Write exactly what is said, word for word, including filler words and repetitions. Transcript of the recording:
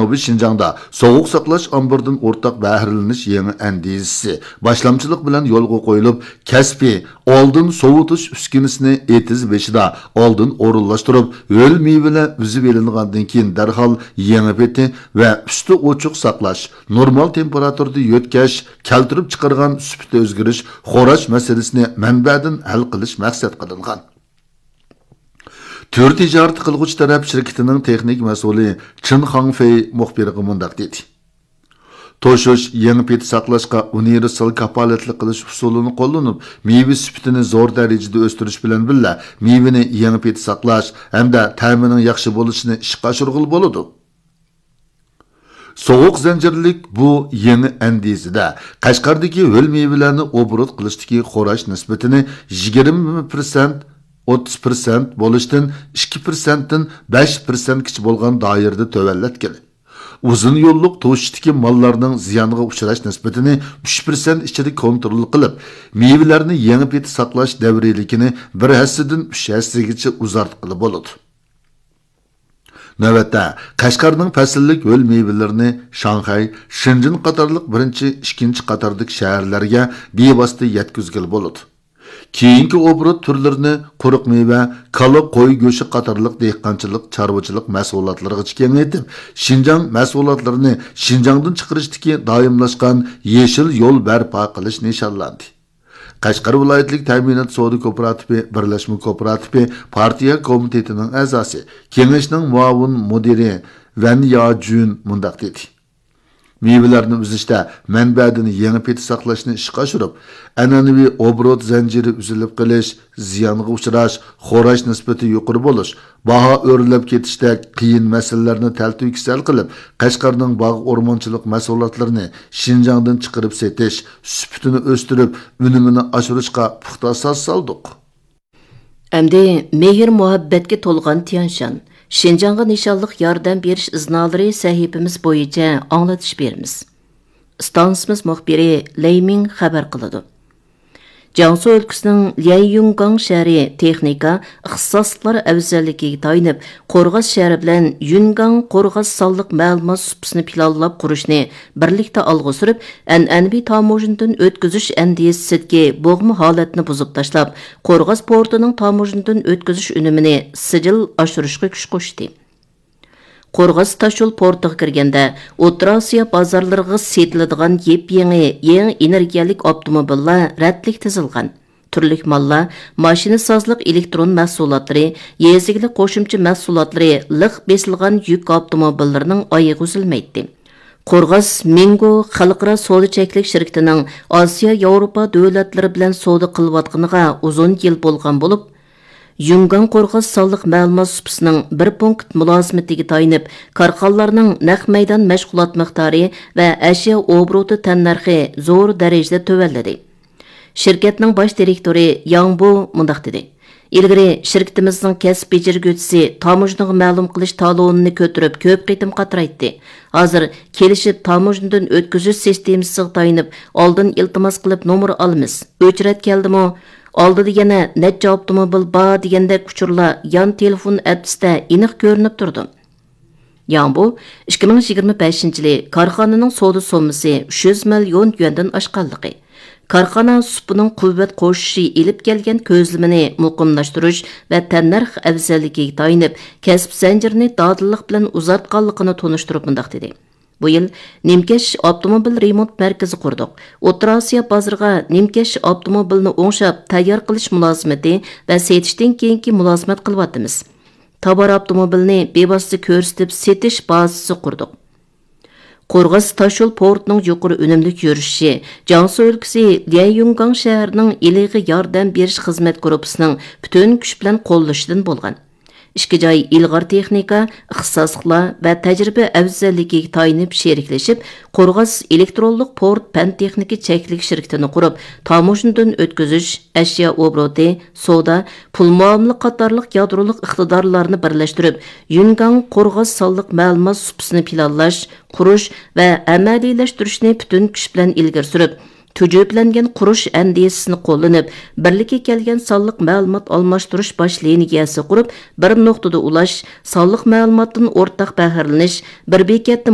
جەنۇبىي شىنجاڭدا سوغۇق ساقلاش ئامبىرىدىن ئورتاق بەھرىلىنىش يېڭى ئەندىزىسى باشلامچىلىق بىلەن يولغا قويۇلۇپ، كەسپىي ئالدىن سوۋۇتۇش ئۈسكۈنىسىنى ئېتىز بېشىدا ئالدىن ئورۇنلاشتۇرۇپ، ھۆل مېۋىلەر ئۈزۈۋېلىنغاندىن كېيىن دەرھال يېڭى پېتى ۋە ئۈستى ئوچۇق ساقلاش، نورمال تېمپېراتۇرىدا يۆتكەش، كەلتۈرۈپ چىقارغان سۈپىتى ئۆزگىرىش، خوراش مەسىلىسىنى مەنبەدىن ھەل قىلىش مەقسەت قىلىنغان. تۈر تىجارىتى قىلغۇچى تەرەپ شىركىتىنىڭ تېخنىك مەسئۇلى چېن خاڭفېي مۇخبىرغا مۇنداق دېدى: توشۇش، يېڭى پېتى ساقلاشقا ئۇنىۋېرسال كاپالەتلىك قىلىش ئۇسۇلىنى قوللىنىپ، مېۋە سۈپىتىنى زور دەرىجىدە ئۆستۈرۈش بىلەن بىللە، مېۋىنى يېڭى پېتى ساقلاش ھەمدە تەمىنىڭ ياخشى بولۇشىنى ئىشقا ئاشۇرغىلى بولىدۇ. سوغۇق زەنجىرلىك بۇ يېڭى ئەندىزىدە قەشقەردىكى ھۆل مېۋىلەرنى ئوبوروت قىلىشتىكى خوراش نىسبىتىنى يىگىرمە پىرسەنت، ئوتتۇز پىرسەنت بولۇشتىن ئىككى پىرسەنتتىن بەش پىرسەنتكىچە بولغان دائىرىدە تۆۋەنلەتكىلى، ئۇزۇن يوللۇق توشۇشتىكى ماللارنىڭ زىيانغا ئۇچراش نىسبىتىنى ئۈچ پىرسەنت ئىچىدە كونترول قىلىپ، مېۋىلەرنى يېڭى پېتى ساقلاش دەۋرىيلىكىنى بىر ھەسسىدىن ئۈچ ھەسسىگىچە ئۇزارتقىلى بولىدۇ. نۆۋەتتە، قەشقەرنىڭ پەسىللىك ھۆل مېۋىلىرىنى شاڭخەي، شېنجېن قاتارلىق بىرىنچى، ئىككىنچى قاتاردىكى شەھەرلەرگە بىۋاسىتە يەتكۈزگىلى بولىدۇ. كېيىنكى ئوبوروت تۈرلىرىنى قۇرۇق مېۋە، كالا، قوي گۆشى قاتارلىق دېھقانچىلىق، چارۋىچىلىق مەھسۇلاتلىرىغىچە كېڭەيتىپ، شىنجاڭ مەھسۇلاتلىرىنى شىنجاڭدىن چىقىرىشتىكى دائىملاشقان يېشىل يول بەرپا قىلىش نىشانلاندى. قەشقەر ۋىلايەتلىك تەمىنات سودا كوپىراتىپى بىرلەشمە كوپىراتىپى پارتىيە كومىتېتىنىڭ ئەزاسى، كېڭەشنىڭ مۇئاۋىن مۇدىرى ۋەن ياجۈن مۇنداق دېدى: مېۋىلەرنى ئۈزۈشتە مەنبەدىن يېڭى پېتى ساقلاشنى ئىشقا ئاشۇرۇپ، ئەنئەنىۋى ئوبوروت زەنجىرى ئۈزۈلۈپ قېلىش، زىيانغا ئۇچراش، خوراش نىسبىتى يۇقىرى بولۇش، باھا ئۆرلەپ كېتىشتەك قىيىن مەسىلىلەرنى تەلتۆكۈس ھەل قىلىپ، قەشقەرنىڭ باغ ئورمانچىلىق مەھسۇلاتلىرىنى شىنجاڭدىن چىقىرىپ سېتىش، سۈپىتىنى ئۆستۈرۈپ، ئۈنۈمىنى ئاشۇرۇشقا پۇختا ئاساس سالدۇق. ئەمدى مېھىر-مۇھەببەتكە تولغان تيەنشان، شىنجاڭغا نىشانلىق ياردەم بېرىش ئىزنالىرى سەھىپىمىز بويىچە ئاڭلىتىش بېرىمىز. ئىستانسىمىز مۇخبىرى لەي مىڭ خەۋەر قىلىدۇ. جياڭسۇ ئۆلكىسىنىڭ ليەنيۈنگاڭ شەھىرى تېخنىكا، ئىختىساسلىقلار ئەۋزەللىكىگە تايىنىپ، قورغاس شەھىرى بىلەن يۈنگاڭ قورغاس سانلىق مەلۇمات سۇپىسىنى پىلانلاپ قۇرۇشنى بىرلىكتە ئالغا سۈرۈپ، ئەنئەنىۋى تاموژنىدىن ئۆتكۈزۈش ئەندىزىسىدىكى بوغما ھالەتنى بۇزۇپ تاشلاپ، قورغاس پورتىنىڭ تاموژنىدىن ئۆتكۈزۈش ئۈنۈمىنى سىجىل ئاشۇرۇشقا كۈچ قوشتى. قورغاس تاشيول پورتىغا كىرگەندە، ئوتتۇرا ئاسىيا بازارلىرىغا سېتىلىدىغان يېپيېڭى، يېڭى ئېنېرگىيەلىك ئاپتوموبىللار رەتلىك تىزىلغان. تۈرلۈك ماللار، ماشىنىسازلىق ئېلېكترون مەھسۇلاتلىرى، يېزا ئىگىلىك قوشۇمچە مەھسۇلاتلىرى لىق بېسىلغان يۈك ئاپتوموبىللىرىنىڭ ئايىغى ئۈزۈلمەيتتى. قورغاس مىڭگو خەلقئارا سودا چەكلىك شىركىتىنىڭ ئاسىيا، ياۋروپا دۆلەتلىرى بىلەن سودا قىلىۋاتقىنىغا ئۇزۇن يىل بولغان بولۇپ، يۈنگاڭ قورغاس سانلىق مەلۇمات سۇپىسىنىڭ بىر پونكىت مۇلازىمىتىگە تايىنىپ، كارخانىلارنىڭ نەق مەيدان مەشغۇلات مىقدارى ۋە ئەشيا ئوبوروتى تەننەرخى زور دەرىجىدە تۆۋەنلىدى. شىركەتنىڭ باش دىرېكتورى ياڭ بو مۇنداق دېدى: ئىلگىرى شىركىتىمىزنىڭ كەسىپ بېجىرگۈچىسى تاموژنىغا مەلۇم قىلىش تالونىنى كۆتۈرۈپ كۆپ قېتىم قاترايتتى. ھازىر كېلىشىپ تاموژنىدىن ئۆتكۈزۈش سىستېمىسىغا تايىنىپ ئالدىن ئىلتىماس قىلىپ نومۇر ئالىمىز. ئۆچرەت كەلدىمۇ، ئالدىدا يەنە نەچچە ئاپتوموبىل بار دېگەندەك ئۇچۇرلار يان تېلېفون ئەترىسىدە ئېنىق كۆرۈنۈپ تۇرىدۇ. ياڭ بو ئىككى مىڭ يىگىرمە بەشىنچى يىلى كارخانىنىڭ سودا سوممىسى ئۈچ يۈز مىليون يۈەندىن ئاشقانلىقى، كارخانا سۇپىنىڭ قۇۋۋەت قوشۇشى ئېلىپ كەلگەن كۆزلىمىنى مۇقىملاشتۇرۇش ۋە تەننەرخ ئەۋزەللىكىگە تايىنىپ، كەسىپ زەنجىرىنى دادىللىق بىلەن ئۇزارتقانلىقىنى تونۇشتۇرۇپ مۇنداق دېدى: بۇ يىل نىمكەش ئاپتوموبىل رېمونت مەركىزى قۇردۇق. ئوتتۇرا ئاسىيا بازىرىغا نىمكەش ئاپتوموبىلىنى ئوڭشاپ تەييار قىلىش مۇلازىمىتى ۋە سېتىشتىن كېيىنكى مۇلازىمەت قىلىۋاتىمىز. تاۋار ئاپتوموبىلنى بىۋاسىتە كۆرسىتىپ سېتىش بازىسى قۇردۇق. قورغاس تاشيول پورتىنىڭ يۇقىرى ئۈنۈملۈك يۈرۈشۈشى جياڭسۇ ئۆلكىسى ليەنيۈنگاڭ شەھىرىنىڭ ئىلىغا ياردەم بېرىش خىزمەت گۇرۇپپىسىنىڭ پۈتۈن كۈچ بىلەن قوللىشىدىن بولغان. ئىككى جاي ئىلغار تېخنىكا، ئىختىساسلىقلار ۋە تەجرىبە ئەۋزەللىكىگە تايىنىپ شېرىكلىشىپ، قورغاس ئېلېكترونلۇق پورت پەن تېخنىكا چەكلىك شىركىتىنى قۇرۇپ، تاموژنىدىن ئۆتكۈزۈش، ئەشيا ئوبوروتى، سودا، پۇل مۇئامىلە قاتارلىق يادرولۇق ئىقتىدارلارنى بىرلەشتۈرۈپ، يۈنگاڭ قورغاس سانلىق مەلۇمات سۇپىسىنى پىلانلاش، قۇرۇش ۋە ئەمەلىيلەشتۈرۈشنى پۈتۈن كۈچ بىلەن ئىلگىرى سۈرۈپ، تۈجۈپىلەنگەن قۇرۇش ئەندىزىسىنى قوللىنىپ، بىرلىككە كەلگەن سانلىق مەلۇمات ئالماشتۇرۇش باش لىنىيەسى قۇرۇپ، بىر نۇقتىدا ئۇلاش، سانلىق مەلۇماتتىن ئورتاق بەھرىلىنىش، بىر بېكەتتە